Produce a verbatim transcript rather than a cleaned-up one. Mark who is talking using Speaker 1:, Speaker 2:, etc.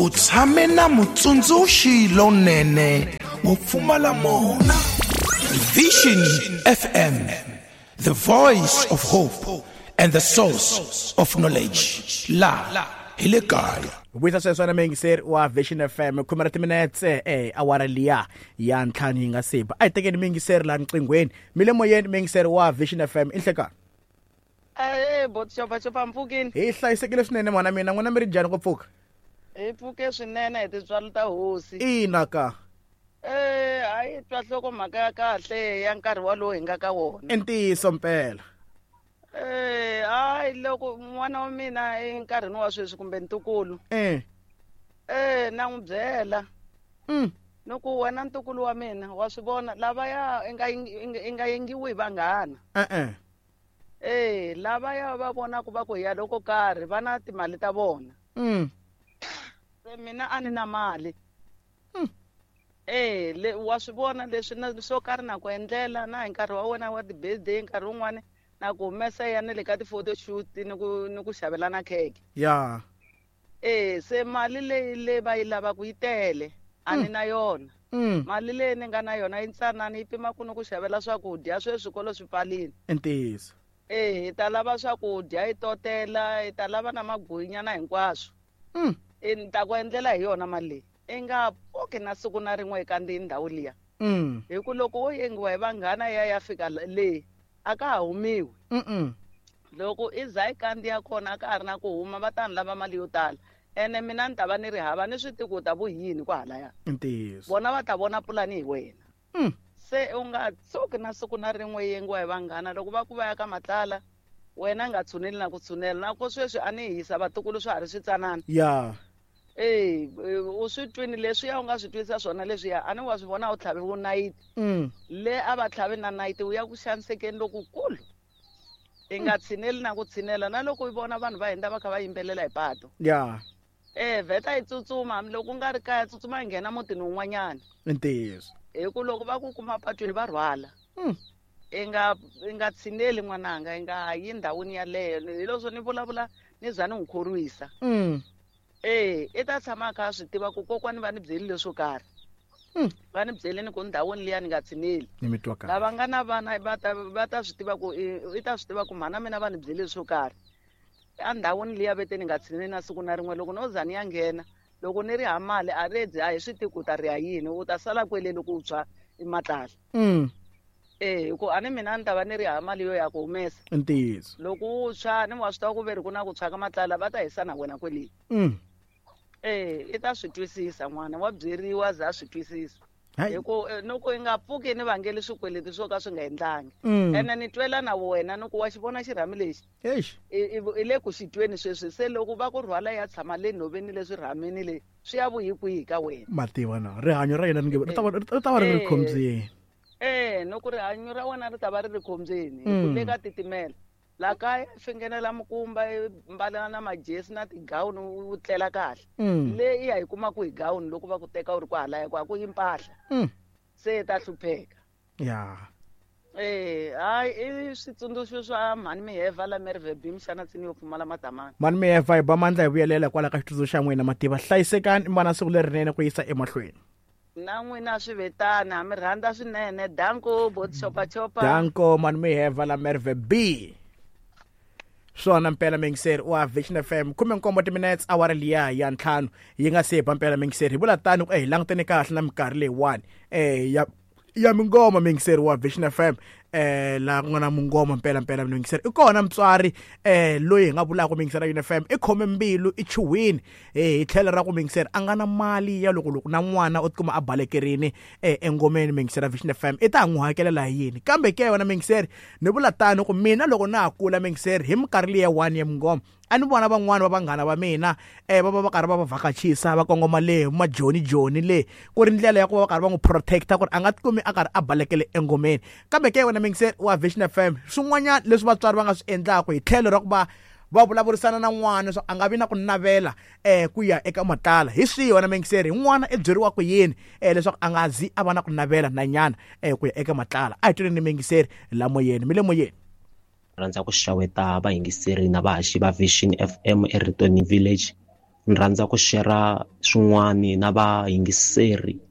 Speaker 1: U tshame na mutsundzuxi lonene wo pfumala mona. Vision F M, the voice of hope and the source of knowledge. La hi le kaya.
Speaker 2: Vuyisa sweswo na muyingiseri wa Vision F M khume ra timinetse eh awara liya ya ntlhanu yi nga se ba. A hi tekeni muyingiseri laha nqinghweni. Mi le moyeni muyingiseri wa Vision F M i nhlekani.
Speaker 3: Eh bot xopa xopa mpfukini.
Speaker 2: Hi hlayisekile swinene mwana mina, n'wina mi ri njhani ku pfuka?
Speaker 3: Hi pfuke swinene hi tintswalo ta hosi.
Speaker 2: Ina ka.
Speaker 3: Eh a yi twa nhloko mhaka ya kahle ya nkarhi walowo hi nga ka wona.
Speaker 2: I ntiyiso mpela.
Speaker 3: Eh hayi loko n'wana wa mina enkarhini wa sweswi kumbe ntukulu.
Speaker 2: Eh.
Speaker 3: Eh na n'wi byela.
Speaker 2: Mm.
Speaker 3: Loko wena ntukulu wa mina wa swi vona lavaya i nga i nga yengiwi hi vanghana.
Speaker 2: Eh eh.
Speaker 3: Eh lavaya va vona ku va ku ya loko karhi va na timali ta vona.
Speaker 2: Mm.
Speaker 3: Se mina a ni na mali.
Speaker 2: Mm.
Speaker 3: Eh le wa swi vona leswi na swo karhi na ku endlela na hi nkarhi wa wena wa ti-birthday nkarhi wun'wani na ku humesa ya na le ka ti-photo shoot ni ku ni ku xavela na khekhe.
Speaker 2: Ya.
Speaker 3: Eh se mali leyi le va yi lavaka yi tele a ni na yona.
Speaker 2: Mm.
Speaker 3: Mali leyi ni nga na yona yi ntsanana yi pima ku ni ku xavela swakudya sweswi swikolo swi pfalile.
Speaker 2: I ntiyiso.
Speaker 3: Eh hi ta lava swakudya hi totela hi ta lava na maguyinyana hinkwaswo.
Speaker 2: Mm.
Speaker 3: E ni ta ku endlela hi yona mali leyi. I nga pfuki na siku na rin'we kandziyi ndhawu liya.
Speaker 2: Mm.
Speaker 3: Hi ku loko wo yengiwa hi vanghana ya ya fika le a ka ha humiwi.
Speaker 2: Mm.
Speaker 3: Loko i za i kandziya kona a ka ha ri na ku huma va ta ni lava mali yo tala. Ene mina ni ta va ni ri hava ni swi tivi ku ta vu yini kwahalaya.
Speaker 2: Ntiyiso.
Speaker 3: Vona va ta vona pulani hi wena.
Speaker 2: Mm.
Speaker 3: Se u nga tshuki na siku na rin'we yengiwa hi vanghana loko va ku va ya ka matlala wena nga tshuneli na ku tshunela na ku sweswi a ni hisa vatukulu swa ha ri switsanana.
Speaker 2: Ya.
Speaker 3: Eh u swi twini leswiya u nga swi twisa swona leswiya a ni wa swi vona u tlhaviwe nayiti.
Speaker 2: Mm.
Speaker 3: Le a va tlhavi na nayiti u ya ku xanisekeni lokukulu. I nga tshineli na ku tshinela na loko u vona vanhu va hundza va kha va yimbelela hi pato.
Speaker 2: Ya.
Speaker 3: Eh vheta yi tsutsuma hambi loko u nga ri kaya tsutsuma yi nghena mutini wun'wanyana.
Speaker 2: I ntiyiso.
Speaker 3: Hi ku loko va ku kuma patwini va rhwala.
Speaker 2: Mm.
Speaker 3: I nga i nga tshineli n'wananga i nga yi ndhawini yaleyo hi leswo ni vulavula ni za ni n'wi khorwisa.
Speaker 2: Mm.
Speaker 3: Eh i ta tshama a kha a swi tiva ku kokwani va ni byeli leswo karhi.
Speaker 2: Mm.
Speaker 3: Va ni byeli ni ku ndhawini liya ni nga tshineli.
Speaker 2: Ni mi twa kahle.
Speaker 3: Lava nga na vana va ta va ta swi tiva ku i ta swi tiva ku mhana mina va ni byeli leswo karhi. Endhawini liya vete ni nga tshineli na siku na rin'we loko no za ni ya nghena loko ni ri ha mali a redzi a hi swi tivi ku ta ri ya yini u ta sala kwele loko u tshwa i matlala.
Speaker 2: Mm.
Speaker 3: Eh hi ku a ni mina ni ta va ni ri ha mali yo ya ku humesa.
Speaker 2: Ntiyiso.
Speaker 3: Loko u tshwa ni wa swi tiva ku ve ri ku na ku tshwa ka matlala va ta hisa na wena kwele.
Speaker 2: Mm.
Speaker 3: Eh i ta swi twisisa n'wana wa byeriwa za swi twisisa. Hi ku loko i nga pfuki ni vangeli swikweleti swo ka swi nga endlangi. Ene ni twela na wena ni ku wa xi vona xirhami lexi.
Speaker 2: Eish.
Speaker 3: I le ku xi tweni sweswi se loko va ku rhwala ya tshama le nhoveni leswi rhamini le swi ya vuyi kwihi ka wena.
Speaker 2: Mativa na rihanyo ra yena ni nge ri ta va ri ta va ri ri khombyeni.
Speaker 3: Eh loko rihanyo ra wena ri ta va ri ri khombyeni hi ku le ka titimela. La kaya fingenela mukumba mbala na majesi na tigawuni u tlela kahle. Le i ya hi kuma ku hi gawuni loko va ku teka u ri kwahalaya ku a ku yi mpahla. Se ta hlupheka.
Speaker 2: Ya.
Speaker 3: Eh hayi i switsundzuxo swa mhani Miheva la Merwe B mxana tsini yo pfumala madamana.
Speaker 2: Mhani Miheva hi ba mandla hi vuyelela kwala ka xitsundzuxo xa n'wina mativa hlayisekani mana siku lerinene ku yisa emahlweni.
Speaker 3: Na n'wina swi vetana mi rhandza swinene danko bot chopa chopa.
Speaker 2: Danko mhani Miheva la Merwe B. Swona mpela muyingiseri wa Vision F M khume nkombo timinetse awara liya ya ntlhanu yi nga se ba mpela muyingiseri hi vula tano ku eh hi langutene kahle na minkarhi leyiwani eh ya ya mingoma muyingiseri wa Vision F M eh la ku nga na mungoma mpela mpela muyingiseri i kona mutswari eh loyi hi nga vulaka muyingiseri wa Vision F M i khome mbilu i chuhwini eh hi tlhelo ra ku muyingiseri a nga na mali ya loko loko na n'wana u tikuma a balekerini eh engomeni muyingiseri wa Vision F M i ta n'wi hakelela hi yini kambe ke wena muyingiseri ni vula tano ku mina loko na ha kula muyingiseri hi minkarhi liya one ya mungoma a ni vona van'wana va vanghana va mina eh va va va karhi va va vhakachisa va kongoma le majoni joni le ku ri ndlela ya ku va va karhi va n'wi protecta ku ri a nga tikumi a karhi a balekele engomeni kambe ke wena muyingiseri wa Vision F M swin'wanyana leswi vatswari va nga swi endlaka hi tlhelo ra ku va va vulavurisana na n'wana leswaku a nga vi na ku navela eh ku ya eka matlala hi swihi wena muyingiseri n'wana i byeriwa ku yini eh leswaku a nga zi a va na ku navela na nyana eh ku ya eka matlala a hi tweleni muyingiseri la moyeni mi le moyeni.
Speaker 4: Rhandza ku xaweta vayingiseri na vahaxi va Vision F M eRitoni Village Ni rhandza ku share swin'wani na vayingiseri.